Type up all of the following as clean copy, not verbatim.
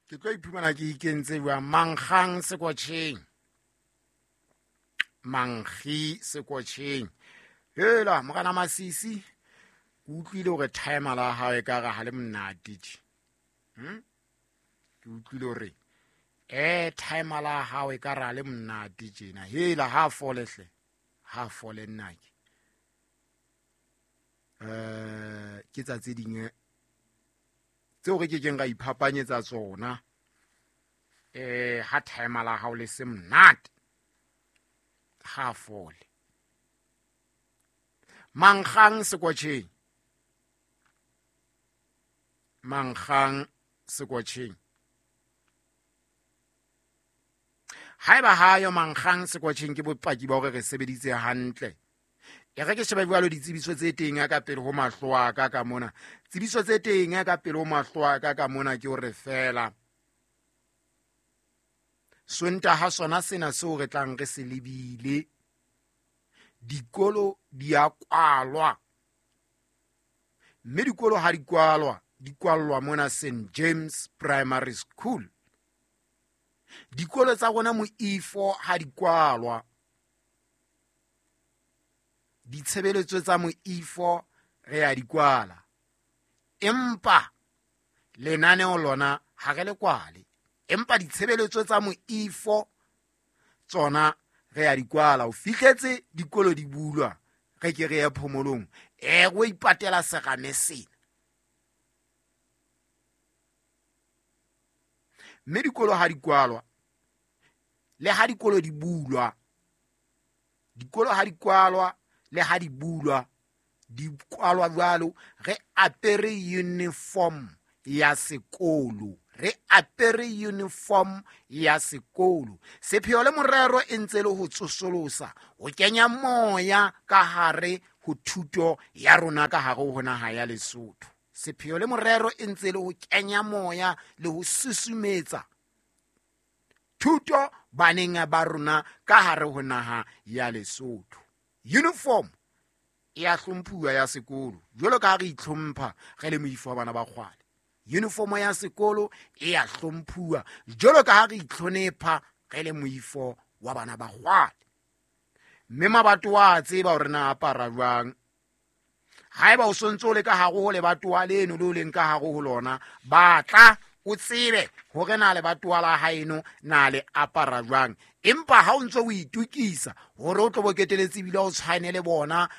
Ke tlo iphumana ke ikentse jwang? Mankgang sekotjheng, mankgi sekotjheng. Hela morena Masisi, ke utlwile hore timer la hao e ka re ha le monate tje. Ke utlwile hore timer la hao e ka re ha le monate tjena. Hela ha fole hle, ha fole nnake. Ke tsa tse ding tseo re kekeng ra iphapanyetsa tsona. Ha timer la hao le se monate, ha fole. Mankgang sekotjheng, mankgang sekotjheng. Haeba hayo mankgang sekotjheng, ke bopaki ba hore re sebeditse hantle. E re ke shebe jwalo ditsebiso tse teng ka pele ho mahlo a ka ka mona. Tsebiso tse teng ka pele ho mahlo a ka ka mona ke hore fela Sontaha sona sena seo re tlang re se lebile, dikolo di a kwalwa. Mme dikolo ha di kwalwa, di kwallwa mona St James Primary School. Dikolo tsa rona moifo ha di kwalwa. Ditshebeletso tsa moifo re a di kwala. Empa lenaneo lona ha re le kwale. Empa ditshebeletso tsa moifo tsona re a di kwala. O fihletse dikolo di bulwa, re ke re ye phomolong. O ipatela serame sena. Mme dikolo ha di kwalwa, le ha dikolo di bulwa, dikolo ha di kwalwa le ha di bulwa, di kwalwa jwalo, re apere uniform ya sekolo. Re apere uniform ya sekolo. Sepheo le morero e ntse le ho tsosolosa, ho kenya moya ka hare ho thuto ya rona ka hare ho naha ya Lesotho. Sepheo le morero e ntse le ho kenya moya le ho susumetsa thuto baneng ba rona ka hare ho naha ya Lesotho. Uniform e a hlomphuwa ya sekolo, jwalo ka ha re itlhompha re le moifo wa bana ba kgwale. Uniform ya sekolo e a hlomphuwa jwalo ka ha re itlhonepha re le moifo wa bana ba kgwale. Mme mabatowa a tseba hore na apara jwang. Haeba o sontso o le ka hare ho lebatowa leno le o leng ka hare ho lona, batla o tsebe hore na lebatowa la haeno na le apara jwang. Empa ha o ntso o itokisa hore o tlo bo keteletse ebile o tshwane le bona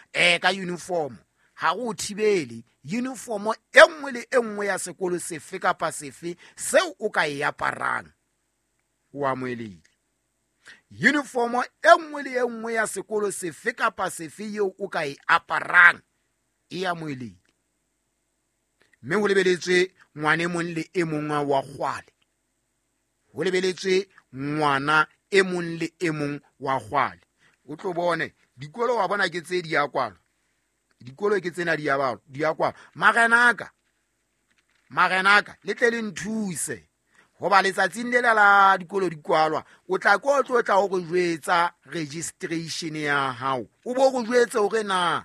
ka uniform, ha o thibele. Uniform e nngwe le e nngwe ya sekolo sefe kapa sefe seo o ka e aparang, o amohelehile. Uniform e nngwe le e nngwe ya sekolo sefe kapa sefe eo o ka e aparang e amohelehile. Mme ho lebeletswe ngwana e mong le e mong wa kgwale. Ho lebeletswe ngwana e mong le e mong wa kgwale. O tlo bone dikolo wa bona ke tse di ya kwalwa. Dikolo ke tsena di ya balwa, di ya kwalwa. Marenaka, marenaka, le tle le nthuse. Hoba letsatsing lela la dikolo di kwalwa, o tla ko tlo tla o re jwetsa registration ya hao. O bo re jwetse hore na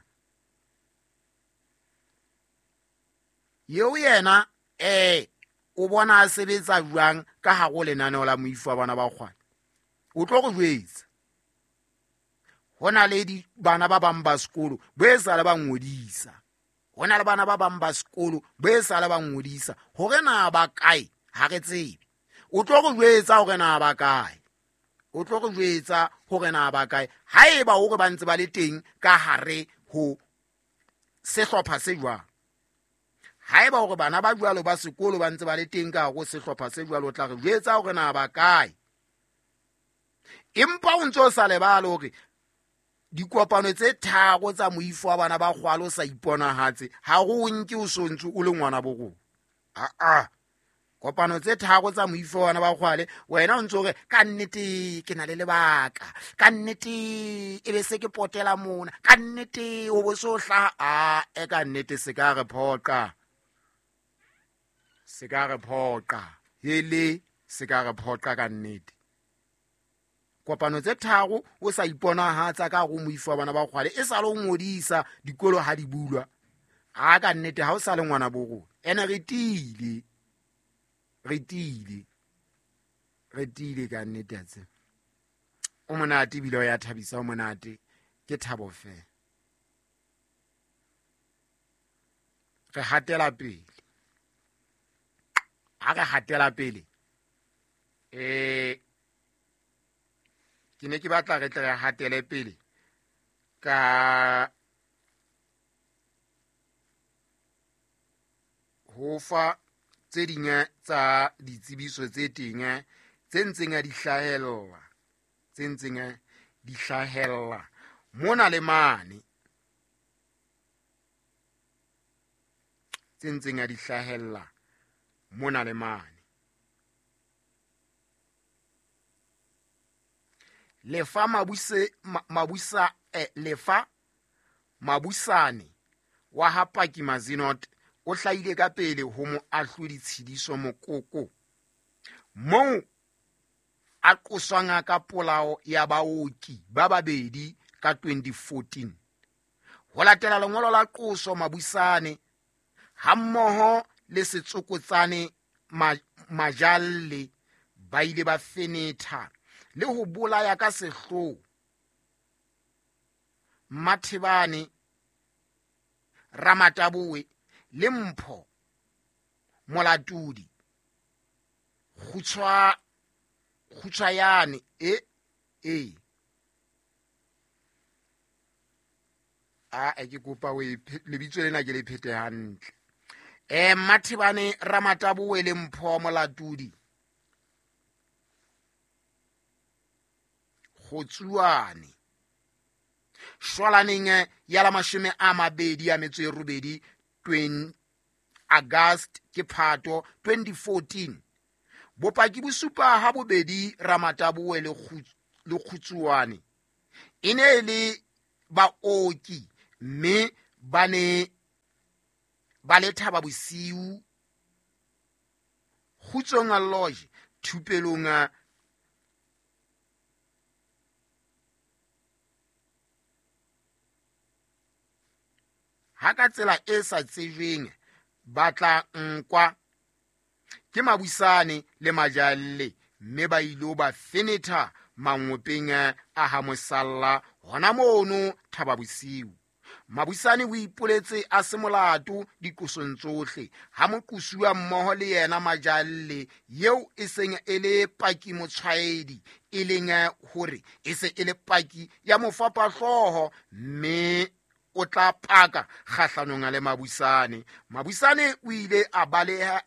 eo yena o bona a sebetsa jwang ka hare ho lenaneo la moifo wa bana ba kgwale. O tlo re jwetsa. Ho na le bana ba bang ba sekolo bo e sa le ba ngodisa. Ho na le bana ba bang ba sekolo bo e sa le ba ngodisa. Hore na ba kae ha re tsebe. O tlo re jwetsa hore na ba kae. O tlo re jwetsa hore na ba kae. Haeba hore ba ntse ba le teng ka hare ho sehlopha se jwang. Haeba hore bana ba jwalo ba sekolo ba ntse ba le teng ka hare ho sehlopha se jwalo, o tla re jwetsa hore na ba kae. Empa o ntse o sa lebale hore dikopano tse tharo tsa moifo wa bana ba kgwale o sa iponahatse, ha o nke o so ntse o le ngwana bo rona. Aa, kopano tse tharo tsa moifo wa bana ba kgwale, wena o ntse o re ka nnete ke na le lebaka, ka nnete e be se ke potela mona, ka nnete ho bo so hlaha. A, e ka nnete se ka re phoqa, se ka re phoqa, hele se ka re phoqa ka nnete. Kopano tse tharo o sa iponahatsa ka hare ho moifo wa bana ba kgwale, e sa le o ngodisa dikolo ha di bulwa. A ka nnete ha o sa le ngwana bo rona. Ene re tiile, re tiile. Re tiile ka nnete a tseba. O monate ebile o ya thabisa, o monate. Ke thabo feela. Re hatela pele. Ha re hatela pele, ke ne ke batla re tle re hatele pele ka ho fa tse ding tsa ditsebiso tse teng tse ntseng di hlahella, tse ntseng di hlahella mona le mane, tse ntseng di hlahella mona le mane. Lefa mabuse, lefa Mabusane wa ha Paki Mazinot o hlahile ka pele ho moahlodi Tshidiso Mokoko, moo a qoswang ka polao ya baoki ba babedi ka 2014. Ho latela lengolo la qoso, Mabusane hammoho le Setsokotsane Majalle ba ile ba fenetha le ho bolaya ka sehloho Mathebane Ramataboe le Mpho Molatudi Kgutshwayane e a ke kopa o lebitso lena ke le phete hantle. Mathebane Ramataboe le Mpho Molatudi Kgotsuane shwalaneng ya la 28 August ke Phato 2014. Bopaki bo supa ha bobedi Ramataboe le Kgutsuane e ne e le baoki mme ba ne ba le Thaba Bosiu Kgutsong Lodge thupelong ha ka tsela e sa tsejweng ba tla nkwa ke Mabusane le Majalle mme ba ilo ba fenetha mangopeng a ha Mosalla hona mono Thaba Bosiu. Mabusane o ipoletse a se molato diqosong tsohle ha moqosuwa mmoho le yena Majalle eo e seng e le paki motshwaedi, e leng hore e se e le paki ya mofapahlooho mme o tla paka kgahlanong le Mabusane. Mabusane o ile a baleha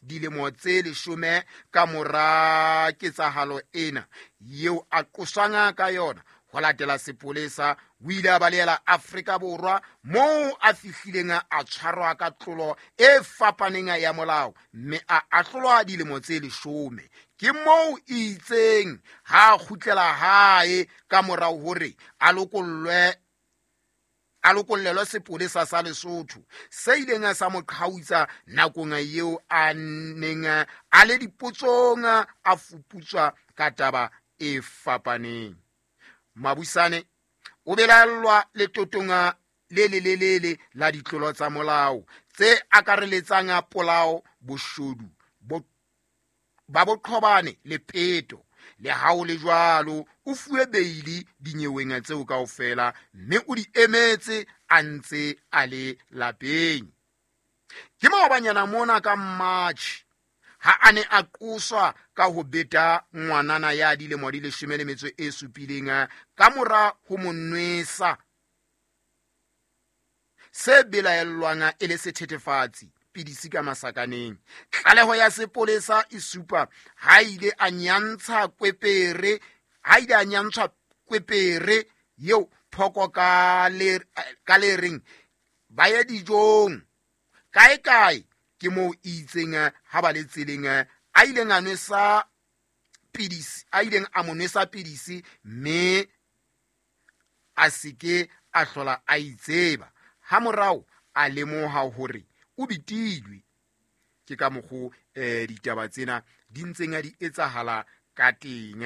dilemo tse 10 ka mora ketsahalo ena eo a qoswang ka yona. Ho latela sepolesa, o ile a balehela Afrika Borwa moo a fihlileng a tshwarwa ka tlolo e fapaneng ya molao mme a ahlolwa dilemo tse 10. Ke moo itseng ha a kgutlela hae ka morao hore a lokollwe a lokollelwe sepolesa sa Lesotho se ileng sa mo qhautsa nakong eo a neng a le dipotsong a fuputswa ka taba e fapaneng. Mabusane o belaellwa letotong le lelelele la ditlolo tsa molao tse akareletsang polao, boshodu ba boqhobane le peto. Le ha ho le jwalo, o fuwe beili dinyeweng tseo kaofela mme o di emetse a ntse a le lapeng. Ke maobanyana mona ka March ha a ne a qoswa ka ho beta ngwanana ya dilemo di 17 ka mora ho mo nwesa se belaellwang e le sethethefatsi pidisi ka masakaneng. Tlaleho ya sepolesa e supa ha ile a nyantsha kwepere, ha ile a nyantshwa kwepere eo phoko ka le reng ba ye dijong kae kae. Ke moo itseng ha ba le tseleng a ileng a nwesa pidisi, a ileng a mo nwesa pidisi mme a seke a hlola a itseba. Ha morao a lemoha hore o betilwe. Ke ka mokgo ditaba tsena di ntseng di etsahala ka teng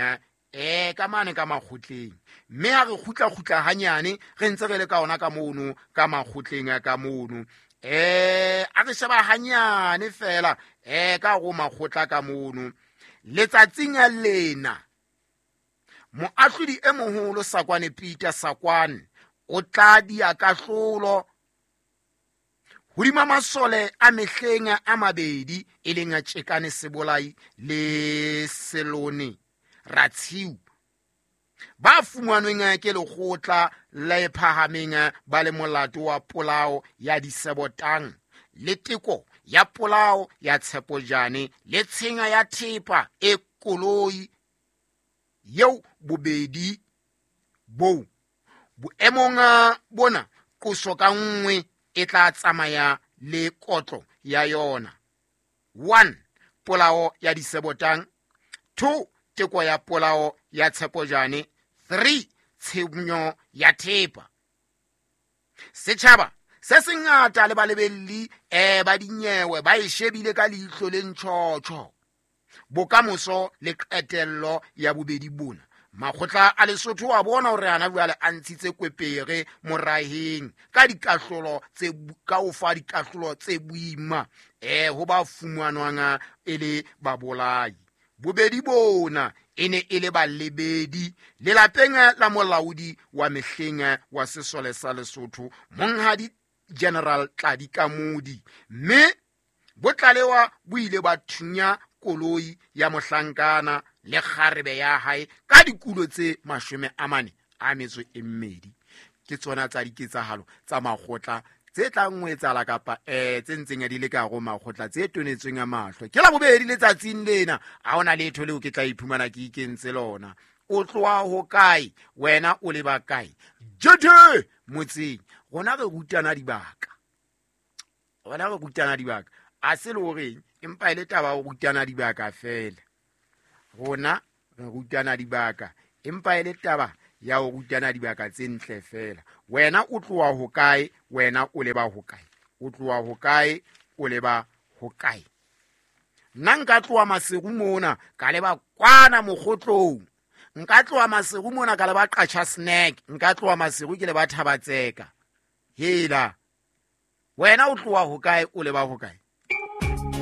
ka mane ka makgotleng. Mme ha re kgutla-kgutla hanyane re ntse re le ka ona ka mono ka makgotleng ka mono. A re sheba hanyane fela ka go makgotla ka mono. Letsatsing lena moahlodi e moholo Sakwane Peter Sakwane o tla dia kahlolo hodima masole a mehleng a mabedi, e leng Tjekane Sebolai le Selone Ratshiu, ba fumanweng ke lekgotla le phahameng ba le molato wa polao ya Disebotang le teko ya polao ya Tshepojane le tshenyo ya thepa e koloi yeo bobedi bo boemong bona qoso ka nngwe e tla tsamaya le kotlo ya yona. 1 polao ya Disebotang, 2 teko ya polao ya Tshepojane, 3 tshenyo ya thepa. Setjhaba se sengata le balebelli ba dinyewe ba e shebile ka leihlo le ntjhotjho bokamoso le qetello ya bobedi bona. Makgotla a Lesotho a bona hore ana jwale a ntshitse kwepere moraheng ka dikahlolo tse ka o fa dikahlolo tse boima ho ba fumanwang e le babolai. Bobedi bona e ne e le balebedi lelapeng la molaodi wa mehleng wa sesole sa Lesotho, Monghadi General Tladi Kamodi, mme bo tlalewa bo ile ba thunya koloi ya mohlankana le kgarebe ya hae ka dikulo tse 42. Ke tsona tsa diketsahalo tsa makgotla tse tlang ho etsahala kapa tse ntseng di le ka go makgotla tse tonetsweng a mahlo. Ke la bobedi letsatsing lena, ha hona letho leo ke tla iphumana ke ikentse lona. O tloha ho kae wena, o leba kae? Jete motseng rona re rutana dibaka, rona re rutana dibaka, a se le horeng empa e le taba ho rutana dibaka fela. Rona re rutana dibaka empa e le taba ya ho rutana dibaka tse ntle fela. Wena o tloha ho kae, wena o leba ho kae? O tloha ho kae, o leba ho kae? Nna nka tloha Maseru mona ka leba kwana Mokgotlong, nka tloha Maseru mona ka leba Qacha Snack, nka tloha Maseru ke leba Thabatseka. Hela wena o tloha ho kae, o leba ho kae?